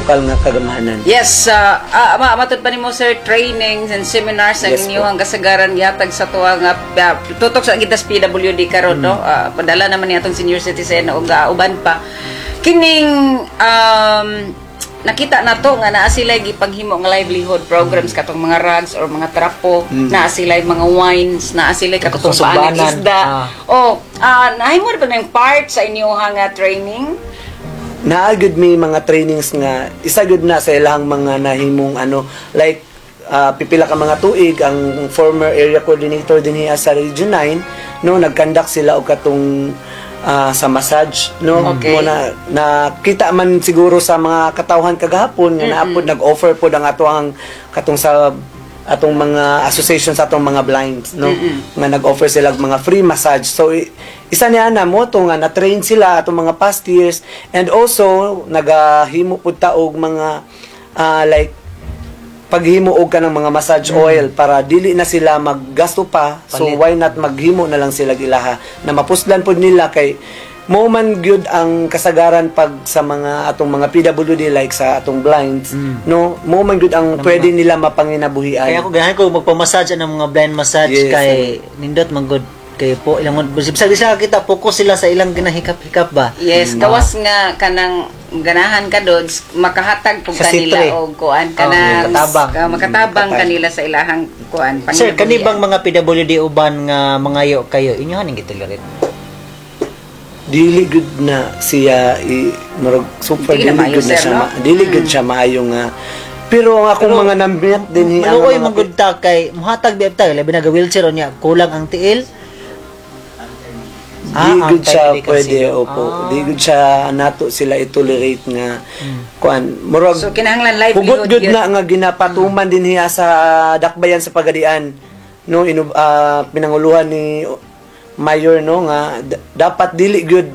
lokal nga kagamhanan. Yes, matud pa nimo, sir, trainings and seminars ang inyong kasagaran gihatag sa tuwa nga tutok sa gitas PWD karon, no? Padala naman ni atong senior citizen og uban pa. Kining nakita na to nga naa sila gipaghimo nga livelihood programs, katong mga rugs or mga trapo, naa sila mga wines, naa sila katong Katong sumbaan sumbanan. Isda. Oh, nahimo ba ng part sa inyong nga training? Naa gud may mga trainings nga isa gud na sa ilang mga nahimong ano, like pipila ka mga tuig ang former area coordinator dinhi sa Region 9, no, nag-conduct sila og katong sa massage, no. Mo na nakita man siguro sa mga katawhan kagahapon nga naapod nag-offer pod ang ato ang katong sa atong mga association sa atong mga blinds, no, nga nag-offer sila og mga free massage. So isa niya na mo to nga na-train sila atong mga past years and also nagahimo pud ta og mga like paghimo og kanang mga massage oil para dili na sila maggasto pa. So Palit. Why not maghimo na lang sila ilaha na mapuslan pud nila, kay mo man gyud ang kasagaran pag sa mga atong mga PWD, like sa atong blinds, no, mo man gyud ang pwede nila mapanginabuhian. Kaya ako ganahan ko magpamassage ang mga blind massage kay nindot man gud kay po ilang bisag di sila kita, focus sila sa ilang ginahikap-hikap ba. Yes, gawas nga kanang ganahan ka dods, makahatag pug Sa kanila sitre. Og kuan kanang makatabang. Makatabang Makatabang. Kanila sa ilahang kuan. Sir, kani panginabuhian. Bang mga PWD uban nga mangayo kayo, inyo haning gitolerate? Dili gud na siya i murag super Dili na dili maayo, gud na sir, siya no? dili gud siya maayo nga, pero ang akong mga namit din hi ang Maluoy mga man gud ta kay muhatag biab ta, labi na ga wheelchair unya kulang ang tiil. Di gud siya ang pwede, sino. opo. Di gud siya nato sila i-tolerate nga kuan murag So kinahanglan livelihood hugot gud yun. Na nga ginapatuman din hiya sa dakbayan sa Pagadian, no, pinanguluhan ni mayor, no, nga dapat dili gyud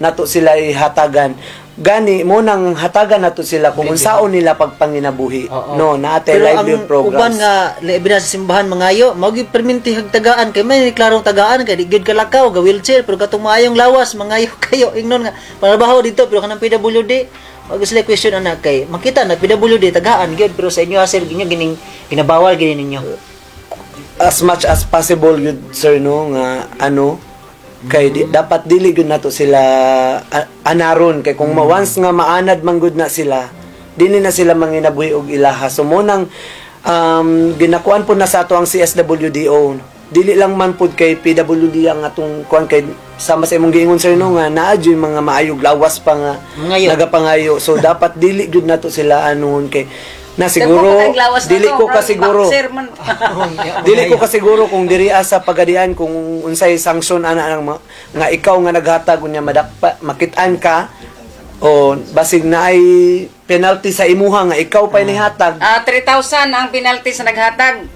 nato sila ihatagan. Gani mo nang hatagan nato sila kung unsaon nila pagpanginabuhi, no, naate Pero livelihood ang programs. Uban nga labi na sa simbahan mangayo, mao gyud perminti hagtagaan kay may klarong tagaan kay di gyud kalakaw ga wheelchair, pero katong maayong lawas mangayo kayo, ingnon nga panarbaho dito, pero kanang PWD wag sila question ana kay makita na PWD tagaan gyud. Pero sa inyo, sir, inyo gining ginabawal gini ninyo? As much as possible gyud, sir, no, nga ano kay dapat dili gyud nato sila anaron kay kung once nga maanad man gud na sila, dili na sila manginabuhi og ilaha. So mo nang ginakuan po na sa ato ang CSWDO, dili lang man pud kay PWD ang atong kuan, kay sama sa imong giingon, sir, no, nga naa jud mga maayog lawas pa nga Mangayo. nagapangayo. So dapat dili gyud nato sila anuhon kay na siguro Dagko pa kag lawas na dili to, ko murag kasiguro boxer man. Dili ko kasiguro kung diri sa Pagadian kung unsay sanction ana ang nga ikaw nga naghatag unya madakpa, makit-an ka o basig na ay penalty sa imuha nga ikaw pa nihatag. 3,000 ang penalty sa naghatag.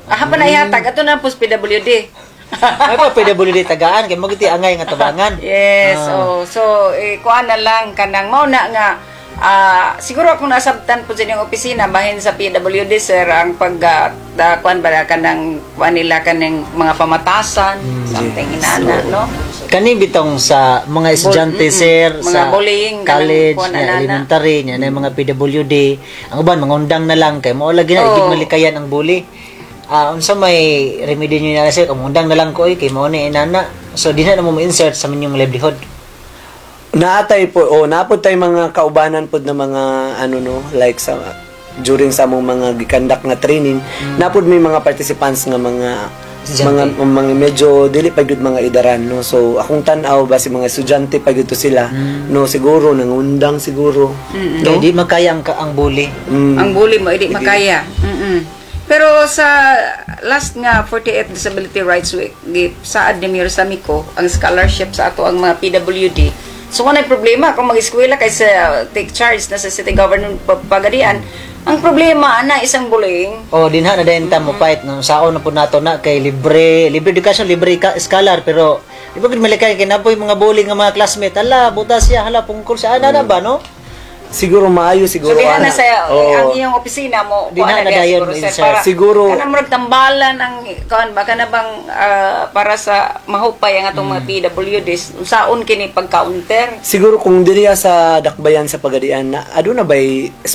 Ah, pa na ihatag ato na pos PWD. Ay pa PWD tagaan kay mo giti angay nga tabangan. Yes, oh, so eh, kuan na lang kanang mao na nga siguro akong nasabtan po sa inyong opisina bahin sa PWD, sir, ang pag kuan ba kanang kuan nila kanang mga pamatasan, something inana, no? Kani bitong sa mga estudyante, sir, mga sa bullying, kanang college kuwan nya, anana. elementary nya, na mga PWD, ang uban mangundang na lang kay mao lagi na igig malikayan ang bully. Unsa may remedy niyo na, sir, kung undang na lang ko oy kay mao ni inana, so di na mo insert sa inyong livelihood? Naatay po o naapod tay mga kaubanan pod na mga ano, no, like sa during sa among mga gikandak nga training, napod may mga participants nga mga Estudyante. mga medyo dili pa gyud mga idaran, no. So akong tan-aw ba si mga estudyante pa gyud to sila, no, siguro nangundang siguro. No? Di makaya ang bully. Ang bully mo hindi makaya. Pero sa last nga 48th Disability Rights Week, gi saad ni Mayor Samico ang scholarship sa ato ang mga PWD. So kung problema kung mag-eskwela kay sa take charge na sa city government Pagadian, ang problema ana isang bullying. O dinha na dayon ta mo fight, no, saon na pud nato na kay libre libre education, libre ka scholar, pero di ba gud malikay kay napoy mga bully nga mga classmate, hala butas siya, hala pungkol sa ana na ba, no? Siguro maayo So siguro dinha ana. na sa Oo. ang iyong opisina mo Dinha kuan na diha dayon siguro, sir, insert. para Siguro- kanang murag tambalan ang kuan ba kana bang para sa mahupay ang atong mga PWDs, saon kini pag-counter? Siguro kung diriya sa dakbayan sa Pagadian na aduna bay